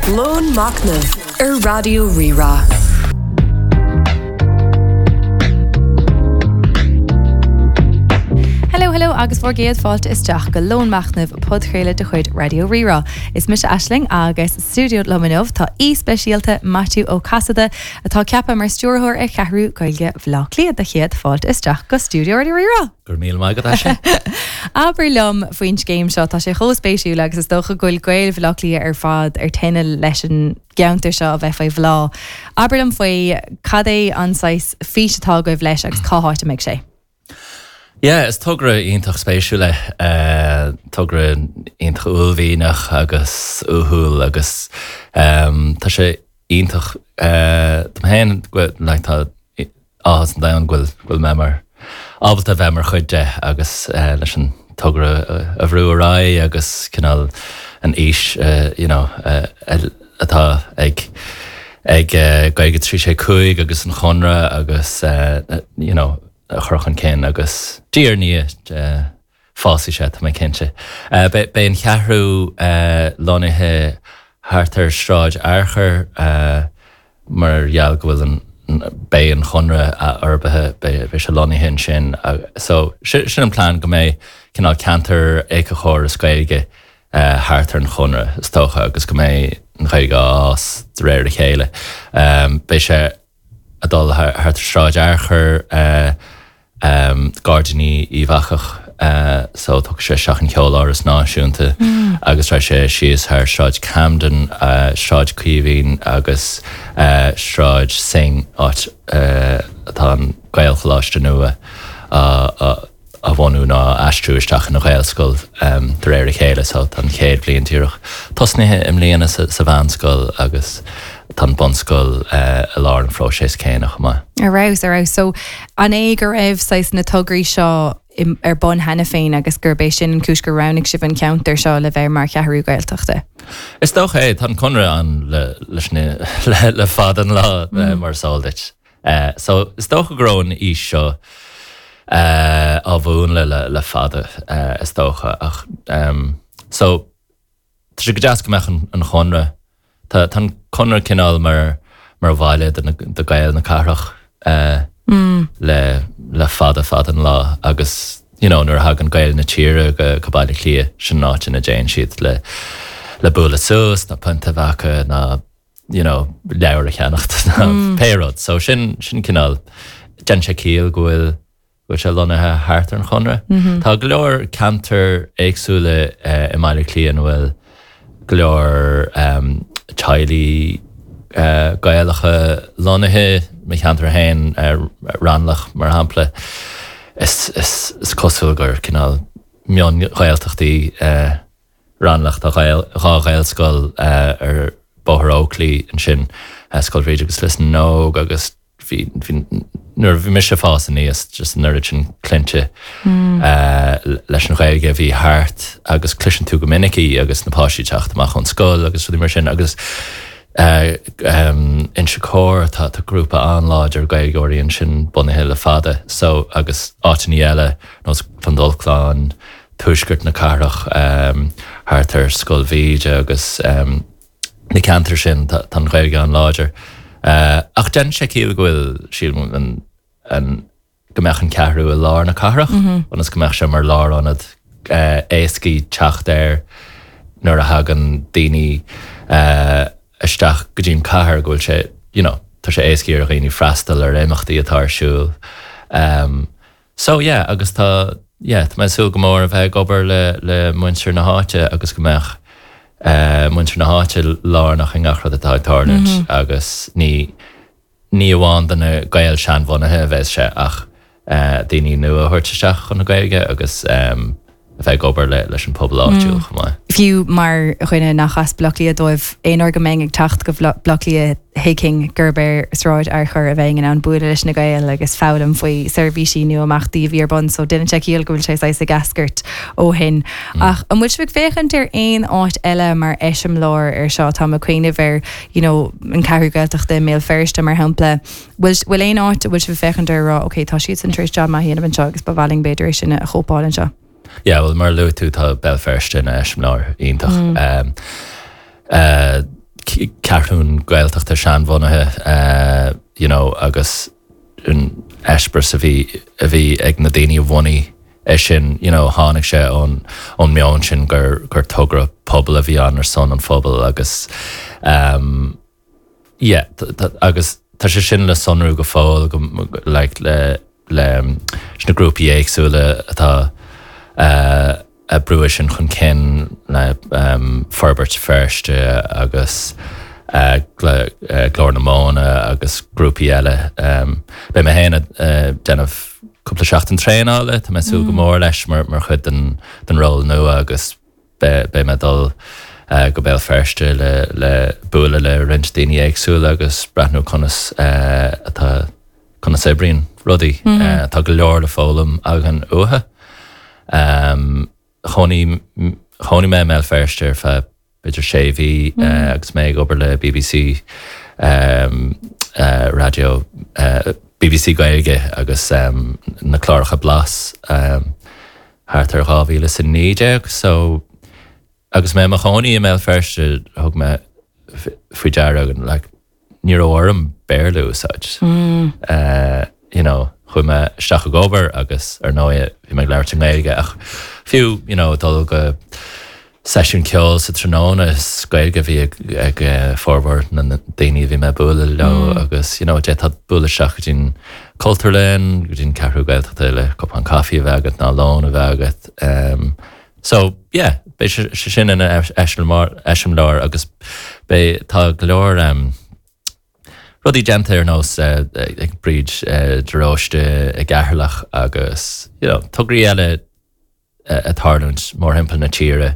Lón Machnaimh ar Raidió Rí-Rá. Hello hello agus bhur gcéad fáilte isteach go Lón Machnaimh, podchraoladh de chuid Raidió Rí-Rá. Is mise Aisling agus sa stiúideo liom inniu tá aoi speisialta, Maitiú Ó Casaide, atá ceaptha mar stiúrthóir ar Cheathrú Gaeilge Bhaile Átha Cliath. Do chéad fáilte isteach go stiúideo Raidió Rí-Rá! Go raibh míle maith agat, Aisling. Abair liom faoin scéim seo, tá sé chomh spéisiúil agus is dócha go bhfuil Gaeil Bhaile Átha Cliath ar fad ar tine leis an gceantar seo a bheith faoi bhláth. Abair liom faoi, cad é an saghas fís atá agaibh leis agus cá háit a mbeidh sé? Yeah, is togra iontach spéisiúil é, togra iontach uaillmhianach agus uathúil agus tá sé iontach dom féin, like tá áthas an domhain go bhfuil mé mar ábalta a bheith mar chuid de agus leis an togra a bhrú ar aghaidh agus cineál an fhís you know atá ag ag Gaeilge 3 6 5 agus an Chonradh agus you know a chur chun cinn agus diaidh ar ndiaidh fásfaidh sé tá mé cinnte. Beidh an cheathrú lonnaithe thart ar Sráid Fhearchair mar gheall go bhfuil an beidh an Chonradh athfhorbartha, beidh sé lonnaithe ansin. So sin an plean go mbeidh cineál ceantar éiceachóras Gaeilge thart ar an Chonradh is dócha agus go mbeidh an Ghaeilge á fhás de réir a chéile. Beidh sé ag dul thart ar Sráid Fhearchair, Gairdíní Uíbh Eachach, so tógfaidh sé isteach an Cheoláras Náisiúnta agus raghaidh sé síos thar Sráid Camden, Sráid Caoimhín agus Sráid Synge, áit atá an Gaelcholáiste nua á á bhunú nó á aistriú isteach ina Ghaelscoil de réir a chéile. So tá an chéad bhliain díreach tosnaithe i mbliana sa mheánscoil agus tá an bunscoil i lár an phróiseas céanna chomh maith. Ar fheabhas, ar fheabhas. So an é go raibh saghas na tograí seo ar bun cheana féin agus gurb é sin an cúis gur roghnaigh sibh an ceantar seo le bheith mar cheathrú Gaeltachta? Is dócha é. Tá an Conradh ann le leis na le fada an lá mar is eol duit. So is dócha go raibh an fhís seo á mhúnlú le fada is dócha ach so tá sé go deas go mbeadh an Chonradh, tá an Conradh cineál mar mar bhaile do do Gaeil na cathrach le le fada fada an lá agus you know nuair a thagann Gaeil na tíre go go Baile Átha Cliath sin an áit ina dtéann siad le le bualadh suas nó pionta a bheith acu nó you know, leabhar a cheannacht nó pé rud. So sin, sin cineál, déanann sé ciall go bhfuil, go bhfuil sé lonnaithe thart ar an Chonradh. Tá go leor ceantair éagsúla i mBaile Átha Cliath ina bhfuil go leor teaghlaigh Gaelacha lonnaithe, mo cheantar féin, Raghnallach mar shampla, is, is, is cosúil gur cineál mion-Ghaeltachtaí Raghnallach, tá 2 Ghaelscoil ar Bhóthar Oakley ansin, Scoil Bhríde agus Lios na nÓg agus bhí, bhí, nuair a bhí mise ag fás aníos, just an oiread sin cluinte leis an Ghaeilge a bhí thart agus cloiseann tú go minic í agus na páistí ag teacht amach ón scoil agus rudaí mar sin agus Inse Chór, tá, tá grúpa an-láidir Gaeilgeoirí ansin bunaithe le fada so agus áiteanna eile, nós Clondalkin, tuaisceart na cathrach, thart ar Scoil Mhíde agus na ceantair sin, tá an Ghaeilge an-láidir. Ach déanann sé ciall go bhfuil, sílim, an, go mbeadh an ceathrú i lár na cathrach, ionas go mbeadh sé mar lárionad éascaí teacht air nuair a thagann daoine isteach go dtí an cathair, go bhfuil sé, you know, tá sé éascaí ar dhaoine freastal ar imeachtaí atá ar siúl. So yeah, agus tá, yeah, tá mé ag súil go mór a bheith ag obair le, le muintir na háite agus go mbeadh eh, muintir na háite lárnach i ngach rud atá ag tarlúint agus ní, ní amháin do na Gaeil seanbhunaithe a bheas sé ach eh, daoine nua a thabhairt isteach chun na Gaeilge agus em, a bheith ag obair le, leis an pobal áitiúil chomh maith. Fiú mar dhuine nach as Baile Átha Cliath dóibh, aon uair go mbeinn ag teacht go Baile Átha Cliath thuigfinn gurb ar Sráid Fhearchair a bheinn in ann bualadh leis na Gaeil agus foghlaim faoi seirbhísí nó imeachtaí a bhí ar bun so déanann sé ciall go bhfuil sé saghas ag eascairt ó shin. Ach an bhfuil sibh ag féachaint ar aon áit eile mar eiseamláir ar seo? Táim ag cuimhneamh ar you know an Ceathrú Gaeltachta i mBéal Feirste mar shampla. Bhfuil bhfuil aon áit a bhfuil sibh ag féachaint air a rá ok tá siadsan tar éis jab maith a dhéanamh anseo agus ba mhaith linn b'fhéidir é sin a chóipeáil anseo? Yeah, bhuel mar a luaigh tú tá Béal Feirste ina eiseamláir iontach. Cheathrún Gaeltachta seanbhunaithe you know agus an eispéireas a bhí a bhí ag na daoine a bhunaigh é sin you know tháinig sé ón ón meon sin gur gur togra pobail a bhí ann ar son an phobail agus um yeah agus tá sé sin le sonrú go fóill go like le le sna grúpaí éagsúla atá uh ag brú é sin chun cinn le Forbairt Feirste agus Glór na Móna agus grúpaí eile. Beidh mé féin ag déanamh cúpla seachtain traenála, tá mé ag súil go mór leis mar chuid den ról nua agus beidh mé ag dul go Béal Feirste le bualadh le roinnt daoine éagsúla agus breathnú conas atá conas a oibríonn rudaí. Tá go leor le foghlaim againn uathu. Chónaigh chónaigh mé i mBéal Feirste ar feadh b'fhéidir sé mhí agus mé ag obair le BBC Raidió, BBC Gaeilge agus na cláracha Blas thart ar 2019 so agus mé i mo chónaí i mBéal Feirste thug mé faoi deara like ní raibh orm Béarla a úsáid. You know, chuaigh mé isteach ag obair agus ar ndóigh bhí mé ag labhairt i nGaeilge ach fiú, you know, dul go seisiún ceoil sa tráthnóna is Gaeilge a bhí ag, ag formhór na daoine a bhí mé ag bualadh leo agus, you know, d'fhéadfá bualadh isteach go dtí'n Cultúrlann, go dtí'n Ceathrú Gaeltachta le cupán caife a bheith agat nó lón a bheith agat. So, yeah, beidh sé sin ina eiseamláir agus beidh, tá go leor rudaí déanta ar nós ag Bríd de Róiste i gCeatharlach agus, you know, tograí eile ag tarlúint mórthimpeall na tíre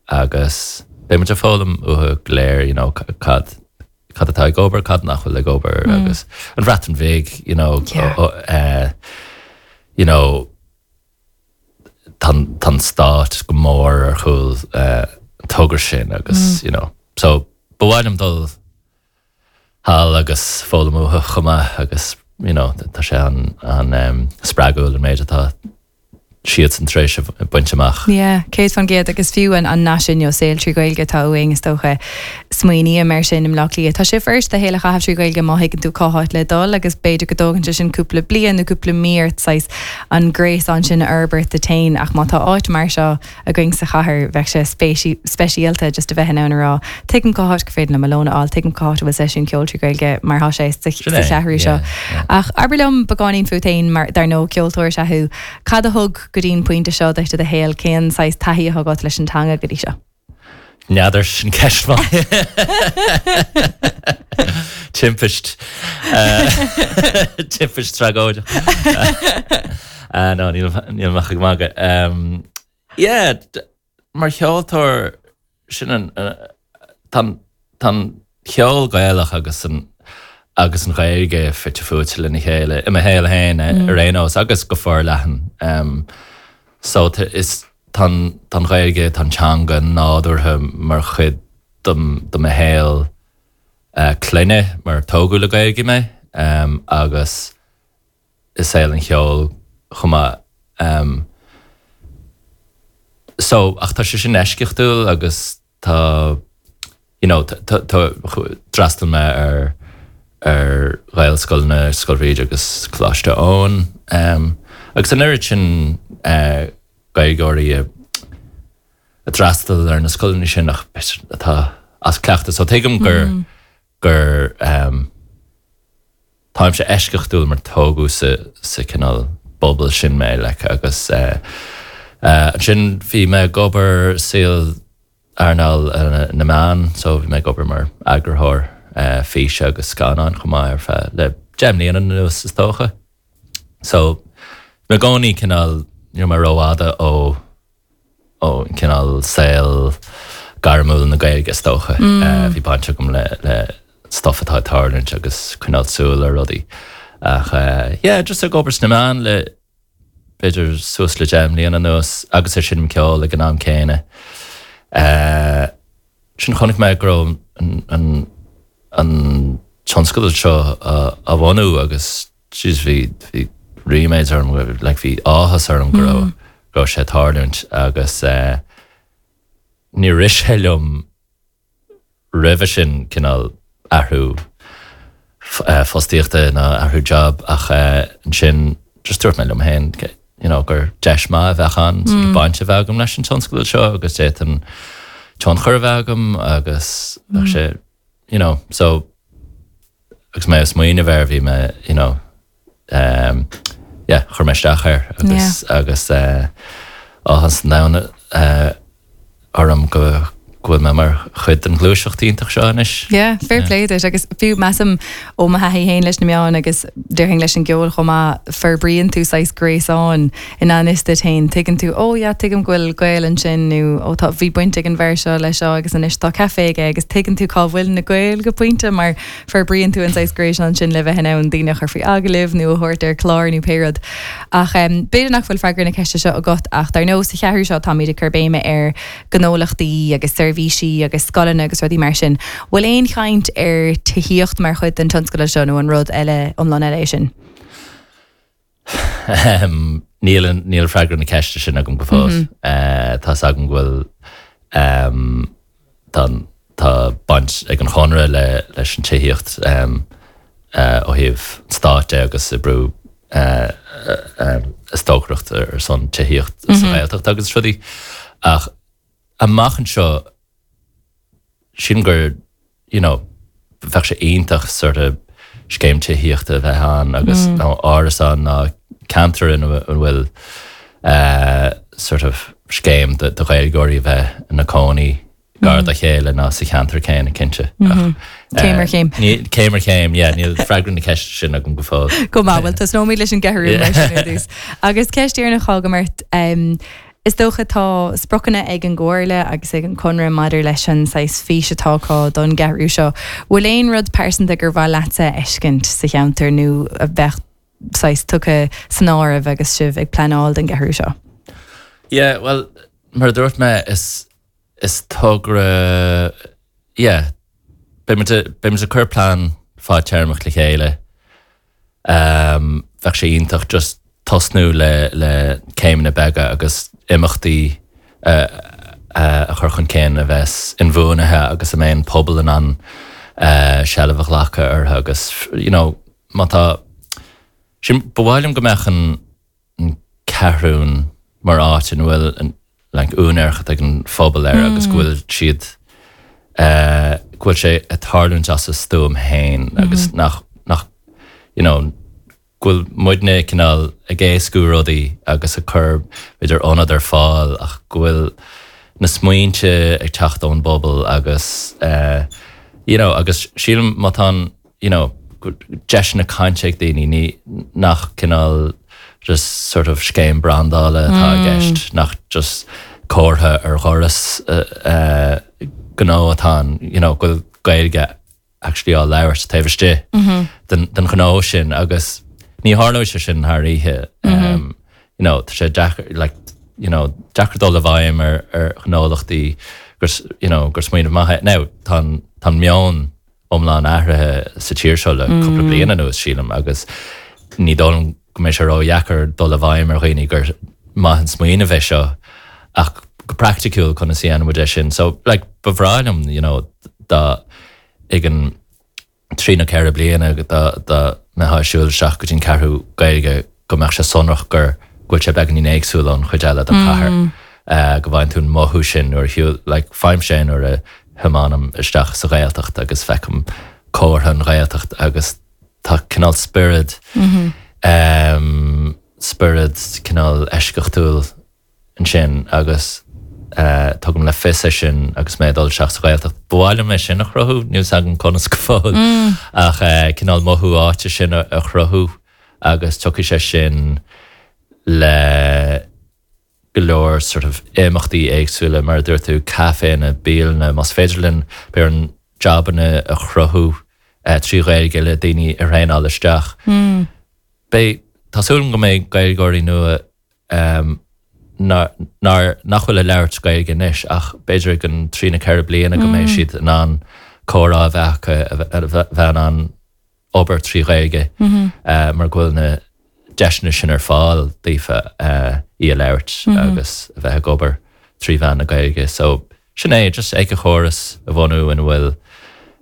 agus beidh muid ag foghlaim uathu go léir, you know, cad cad atá ag obair, cad nach bhfuil ag obair agus an Bhreatain Bhig, you know, you know, tá an stát go mór ar chúl an togra sin agus you know so ba mhaith liom dul thall agus foghlaim uathu chomh maith agus you know tá sé an spreagúil an méid atá siadsan tar éis a baint amach. Yeah, 100% agus fiú an nath sin you know saol trí Ghaeilge atá uainn is dócha. Smaoiním air sin i mBleá Cliath. Tá sé fuirist do shaol a chaitheamh trí Ghaeilge má thuigeann tú cá háit le dul agus b'fhéidir go dtógann sé sin cúpla bliain nó cúpla mí ort saghas an gréasán sin a fhorbairt duit féin ach má tá áit mar seo againn sa chathair bheadh sé speisialta just a bheith in ann a rá tuigim cá háit gur féidir liom mo lón a fháil, tuigim cá háit a bhfuil seisiún ceoil trí Ghaeilge mar tá sé sa cheathrú seo. Ach abair liom beagáinín fút féin mar dar ndóigh ceoltóir is ea thú. Cad a thug go dtí'n pointe seo duit i do shaol, cén saghas taithí atá agat leis an teanga go dtí seo? N'fheadar, sin ceist mhaith. Timpist. Timpist tragóideach. No, níl mé ach ag magadh. Yeah, mar cheoltóir, sin an, tá an ceol Gaelach agus an agus an Ghaeilge fite fuaite lena chéile i mo shaol féin ar aon nós agus go forleathan. So is tá an Ghaeilge, tá an teanga nádúrtha mar chuid de mo shaol clainne mar tógadh le Gaeilge mé agus i saol an cheoil chomh maith. So, ach tá sé sin eisceachtúil agus tá, you know, tá, d'fhreastail mé ar, ar Ghaelscoileanna, Scoil Bhríde agus Coláiste Eoin, agus an oiread sin Gaeilgeoirí a d'fhreastail ar na scoileanna sin ach atá as cleachtadh. So tuigim gur, gur, táimse eisceachtúil mar tógadh sa, sa cineál bubble sin mé, like, agus ansin bhí mé ag obair saol earnáil na meán so bhí mé ag obair mar eagarthóir físe agus scannáin chomh maith ar feadh le 10 mbliana anuas is dócha. So bhí mé i gcónaí cineál, ní raibh mé rófhada ó ó cineál saol gairmiúil na Gaeilge is dócha. Bhí baint agam le le stuff atá ag tarlúint agus coinneáil súil ar rudaí. Ach yeah, just ag obair sna meáin le b'fhéidir suas le 10 mbliana anuas agus ag seinm ceoil ag an am céanna. Ansin chonaic mé go raibh an an tionscadal seo á bhunú agus jeez bhí bhí ríméad orm, like bhí áthas orm go raibh go raibh sé ag tarlúint agus níor rith sé liom. roimhe sin cineál athrú fostaíochta nó athrú job ach ansin just dúirt mé liom féin you know gur deis maith a bheadh ann sort of baint a bheith agam leis an tionscadal seo agus d'fhéadfainn tionchar a bheith agam agus bheadh sé you know so agus mé ag smaoineamh air bhí mé you know um yeah chuir mé isteach air agus agus eh áthas an domhain eh orm go go bhfuil mé mar chuid den ghluaiseacht iontach seo anois. Yeah, fair play duit agus fiú measaim ó mo thaithí féin leis na meáin agus déarfainn leis an gceol chomh maith, forbraíonn tú saghas gréasán i ngan fhios duit féin, tuigeann tú, oh yeah tuigim go bhfuil gaol ansin nó oh tá, bhí baint ag an bhfear seo leis seo agus anois tá caife aige agus tuigeann tú cá bhfuil na gaoil go pointe mar Forbraíonn tú an saghas gréasán sin le bheith in ann daoine a chur faoi agallamh nó a thabhairt ar chlár nó pé rud. Ach b'fhéidir nach bhfuil freagra na ceiste seo agat ach dar ndóigh sa cheathrú seo táimid ag cur béime ar ghnólachtaí agus seirbhísí agus scoileanna agus rudaí mar sin. Bhfuil aon chaint ar tithíocht mar chuid den tionscadal seo nó an rud eile iomlán eile é sin? Níl, níl freagra na ceiste sin agam go fóill. Tá's agam go bhfuil, tá, tá baint ag an Chonradh le, leis an tithíocht ó thaobh an stáit de agus oibriú ag stocaireacht ar son tithíocht sa Ghaeltacht agus rudaí. Ach amach anseo, sílim gur, you know, bheadh sé iontach sort of scéim tithíochta a bheith ann agus nó árasán nó ceantar ina bhfuil eh sort of scéim do Ghaeilgeoirí a bheith ina cónaí gar dá chéile nó sa cheantar céanna cinnte. Ach Céim ar chéim. Céim ar chéim, yeah, níl freagra na ceiste sin agam go fóill. Go maith, bhuel tosnóimid leis an gceathrú mar sin ar dtús. Agus ceist dheireanach agam ort, Is dócha tá spriocanna ag an gComhairle agus ag an Conradh maidir leis an saghas fís atá acu don gceathrú seo. Bhfuil aon rud pearsanta gur mhaith leatsa a fheiscint sa cheantar nó a bheadh saghas tugtha san áireamh agus sibh ag pleanáil don gceathrú seo? Yeah, bhuel, mar a dúirt mé, is, is togra, yeah, beidh muid, beidh muid ag cur plean fadtéarmach le chéile. Bheadh sé iontach just tosnú le le céimeanna beaga agus imeachtaí a chur chun cinn a bheas inbhuanaithe agus a mbeidh an pobal in ann seilbh a ghlacadh orthu agus you know má tá sin ba mhaith liom go mbeadh an an Cheathrún mar áit ina bhfuil an like úinéireacht ag an phobal air agus go bhfuil siad eh go bhfuil sé ag tarlúint as a stuaim féin agus nach nach you know go bhfuil muidne cineál ag éascú rudaí agus ag cur b'fhéidir ionad ar fáil ach go bhfuil na smaointe ag teacht ón bpobal agus eh you know agus sílim má tá an you know, deiseanna cainte ag daoine, ní, nach cineál just sort of scéim brandála atá i gceist, nach just comhartha ar dhoras gnó atá ann, you know, go bhfuil Gaeilge actually á labhairt taobh istigh den, den ghnó sin agus ní tharlóidh sé sin thar oíche. You know, tá sé deacair, like, you know, deacair dul i bhfeidhm ar, ar ghnólachtaí gur, you know, gur smaoineamh maith é. Now, tá an, tá an meon iomlán athraithe sa tír seo le cúpla bliain anuas, sílim, agus ní dóigh liom go mbeidh sé ródheacair dul i bhfeidhm ar dhaoine gur maith an smaoineamh é seo, ach go praiticiúil conas a dhéanann muid é sin. So, like, ba bhreá liom, you know, dá i gceann 3 nó 4 bliana dá dá mbeifeá ag siúl isteach go dtí an Cheathrú Gaeilge go mbeadh sé sonrach gur go bhfuil sé beagáinín éagsúil ón chuid eile den chathair. Go bhfaigheann tú an mothú sin nuair a shiúl, like, faighimse é nuair a thiomáinim isteach sa Ghaeltacht agus feicim comhartha an Ghaeltacht agus tá cineál spiorad, spiorad cineál eisceachtúil ansin agus tugaim le fios é sin agus mé ag dul isteach sa Ghaeltacht. Ba mhaith liom é sin a chruthú, níl 's agam conas go fóill ach cineál mothú áite sin a chruthú agus tiocfaidh sé sin le go leor sort of imeachtaí éagsúla, mar a dúirt tú, caiféanna, bialanna, más féidir linn b'fhéidir jabanna a chruthú trí Ghaeilge le daoine a thraenáil isteach. Beidh, tá súil agam go mbeidh Gaeilgeoirí nua nár, nach bhfuil ag labhairt Gaeilge anois ach b'fhéidir i gceann 3 nó 4 bliana go mbeidh siad in ann comhrá a bheith acu, a bheith in ann obair trí Ghaeilge mar go bhfuil na deiseanna sin ar fáil daofa í a labhairt agus a bheith ag obair trí mheán na Gaeilge. So. Sin é, just éiceachóras a bhunú ina bhfuil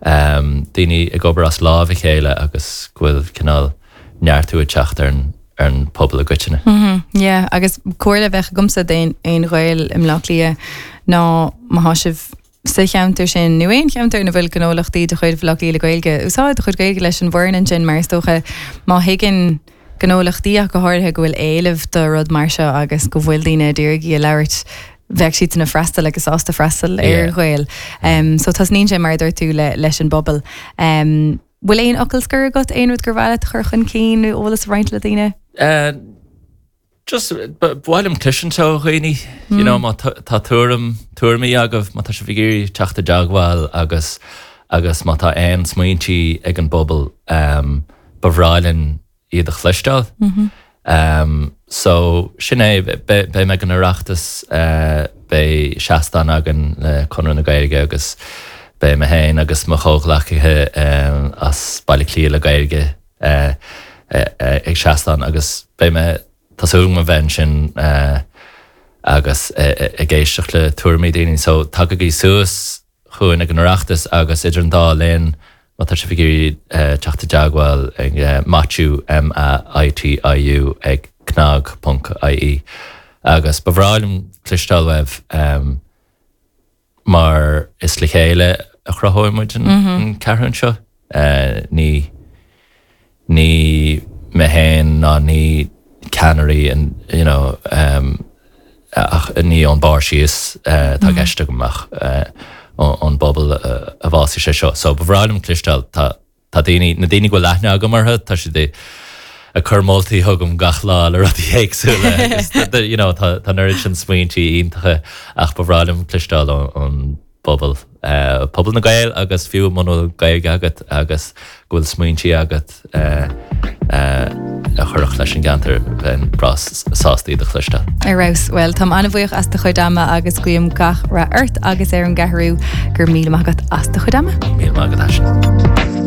daoine ag obair as lámh a chéile agus go bhfuil cineál neartú ag teacht ar an ar an pobal i gcoitinne. Yeah, agus comhairle a bheadh agamsa d'aon aon Ghael i mBleá Cliath ná má thá sibh sa cheantar sin nó aon cheantar ina bhfuil gnólachtaí de chuid Bhaile Átha Cliath le Gaeilge, úsáid do chuid Gaeilge leis an bhfoireann ansin mar is dócha má thuigeann gnólachtaí ach go háirithe go bhfuil éileamh do rud mar seo agus go bhfuil daoine ag iarraidh í a labhairt, bheadh siadsan ag freastal agus sásta freastal ar Ghaeil. So tosnaíonn sé mar a dúirt tú le leis an bpobal. Bhfuil aon fhocal scoir agat, aon rud gur mhaith leat a chur chun cinn nó eolas a roinnt le daoine? Just, ba mhaith liom cloisint ó dhaoine, you know, má tá tuairim, tuairimí agaibh, má tá sibh ag iarraidh teacht i dteagmháil agus, agus má tá aon smaointí ag an bpobal, ba bhreá linn iad a chloisteáil. So, sin é, beidh mé ag an Oireachtas, beidh seastán againn le Conradh na Gaeilge agus beidh mé féin agus mo chomhghleacaithe as Baile Átha Cliath le Gaeilge, ag seastán agus beidh mé, tá súil agam a bheith ansin agus ag éisteacht le tuairimí daoine. So tagaigí suas chugainn ag an Oireachtas agus idir an dá linn má tá sibh ag iarraidh teacht i dteagmháil ag Maitiu, M-A-I-T-I-U, ag cnag ponc IE agus ba bhreá liom cloisteáil uaibh. mar is le chéile a chruthóidh muid an cheathrún seo. Ní ní mé féin ná ní ceannairí you know ach ní ón barr síos atá i gceist agam ach ón bpobal a bhfásfaidh sé seo. So ba bhreá liom cloisteáil, tá Tá daoine, na daoine go bhfuil aithne agam orthu, tá siad ag cur moltaí chugam gach lá le rudaí éagsúla agus you know tá an oiread sin smaointí iontacha ach ba bhreá liom cloisteáil ón bpobal, pobal na Gael agus fiú muna bhfuil Gaeilge agat agus go bhfuil smaointí agat a chuirfeadh leis an gceantar, bheinn breá sásta iad a chloisteáil. Ar fheabhas. Bhuel, táim an-bhuíoch as do chuid ama agus guím gach rath ort agus ar an gCeathrú. Go raibh míle maith agat as do chuid ama. Míle maith agat Aisling.